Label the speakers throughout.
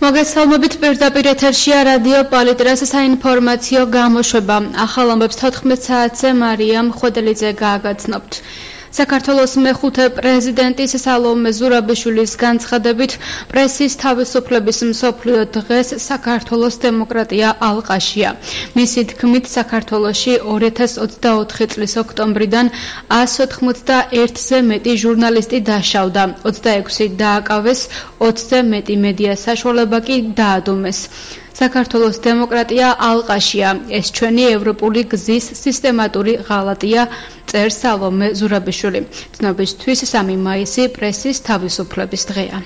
Speaker 1: მოგესალმებით პირდაპირ ეთერშია რადიო პოლიტრას საინფორმაციო გამოშვება. ახალ ამბებს 14 საათზე მარიამ ხვედელიძე გააგრძნობთ. საქართველოს მეხუთე პრეზიდენტის სალომე ზურაბიშვილის განცხადებით პრესის თავისუფლების მსოფლიო დღეს საქართველოს დემოკრატია ალყაშია. მისი თქმით საქართველოში 2024 წლის ოქტომბრიდან 191-ზე მეტი ჟურნალისტი დაშავდა, 26 დააკავეს, 20-ზე მეტი მედია საშუალება კი დაადუმეს. საქართველოს დემოკრატია ალყაშია. ეს ჩვენი ევროპული გზის სისტემატური ღალატია, წერს სალომე ზურაბიშვილი. ცნობისთვის 3 მაისი პრესის თავისუფლების დღეა.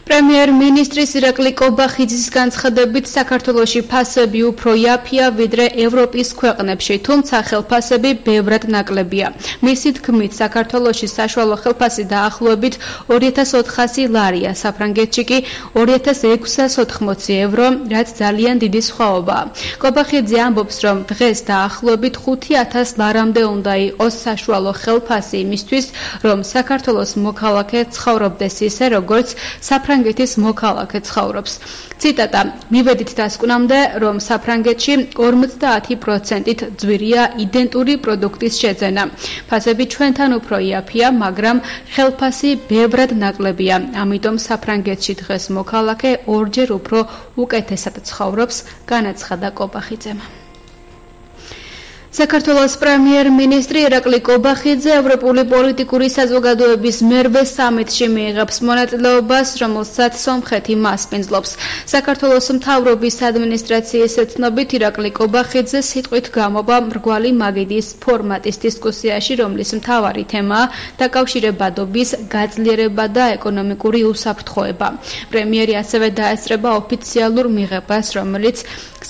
Speaker 1: პრემიერ-მინისტრის ირაკლი კობახიძის განცხადებით საქართველოში ფასები უფრო იაფია ვიდრე ევროპის ქვეყნებში, თუმცა ხელფასები ბევრად ნაკლებია. მისი თქმით, საქართველოში საშუალო ხელფასი დაახლოებით 2400 ლარია, საფრანგეთში კი 2680 евро, რაც ძალიან დიდი სხვაობაა. კობახიძე ამბობს, რომ დღეს დაახლოებით 5000 ლარამდე უნდა იყოს საშუალო ხელფასი იმისთვის, რომ საქართველოს მოქალაქე ცხოვრობდეს ისე, როგორც საფრანგეთის მოქალაქე ცხოვრობს. ციტატა: მივედით დასკვნამდე, რომ საფრანგეთში 50%-ით ძვირია იდენტური პროდუქტის შეძენა. ფასები ჩვენთან უფრო იაფია, მაგრამ ხელფასი ბევრად ნაკლებია. ამიტომ საფრანგეთში დღეს მოქალაქე ორჯერ უფრო უკეთესად ცხოვრობს, განაცხადა კობახიძემ. საქართველოს პრემიერ-მინისტრი ირაკლი კობახიძე ევროპული პოლიტიკური საზოგადოების მერვე სამიტში მიიღებს მონაწილეობას, რომელსაც სომხეთი მასპინძლობს. საქართველოს მთავრობის ადმინისტრაციის ცნობით ირაკლი კობახიძე სიტყვით გამოვა მრგვალი მაგიდის ფორმატის დისკუსიაში, რომლის მთავარი თემაა დაკავშირებადობის გაძლიერება და ეკონომიკური უსაფრთხოება. პრემიერი ასევე დაესწრება ოფიციალურ მიღებას, რომელიც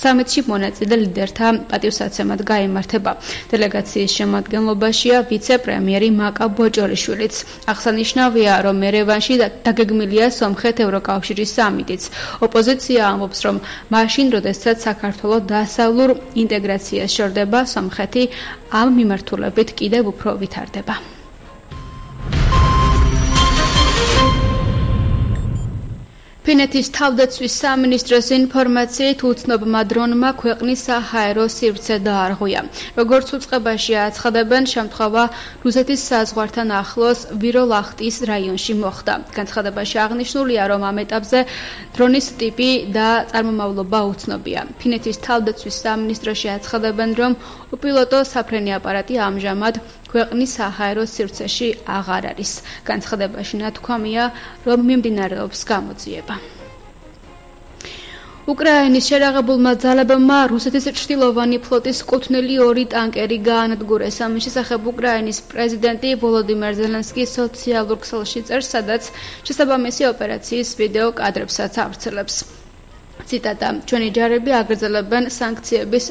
Speaker 1: სამიტში მონაწილე ლიდერთა პატივსაცემად გაიმართა. დელეგაციის შემადგენლობაშია ვიცე-პრემიერი მაკა ბოჭორიშვილიც. აღსანიშნავია, რომ ერევანში დაგეგმილია სომხეთ-ევროკავშირის სამიტიც. ოპოზიცია ამბობს, რომ მაშინ, როდესაც საქართველო დასავლურ ინტეგრაციას შორდება, სომხეთი ამ მიმართულებით კიდევ უფრო ვითარდება. ფინეთის თავდაცვის სამინისტროს ინფორმაციით უცნობმა დრონმა ქვეყნის საჰაერო სივრცე დაარღვია. როგორც უწყებაში აცხადებენ, შემთხვევა რუსეთის საზღვართან ახლოს ვიროლახტის რაიონში მოხდა. განცხადებაში აღნიშნულია, რომ ამ ეტაპზე დრონის ტიპი და წარმომავლობა უცნობია. ფინეთის თავდაცვის სამინისტროში აცხადებენ, რომ უპილოტო საფრენი აპარატი ამჟამად ქვეყნის საჰაერო სივრცეში აღარ არის. განცხადებაში ნათქვამია, რომ მიმდინარეობს გამოძიება. უკრაინის შერაღებულმა ძალებმა რუსეთის ჩრდილოვანი ფლოტის კუთვნილი 2 ტანკერი გაანადგურეს. ამის შესახებ უკრაინის პრეზიდენტი ვოლოდიმირ ზელენსკი სოციალურ ქსელში წერს, სადაც შესაბამისი ოპერაციის ვიდეო კადრებსაც ავრცელებს. ციტატა: ჩვენი ჯარები აგრძელებენ სანქციების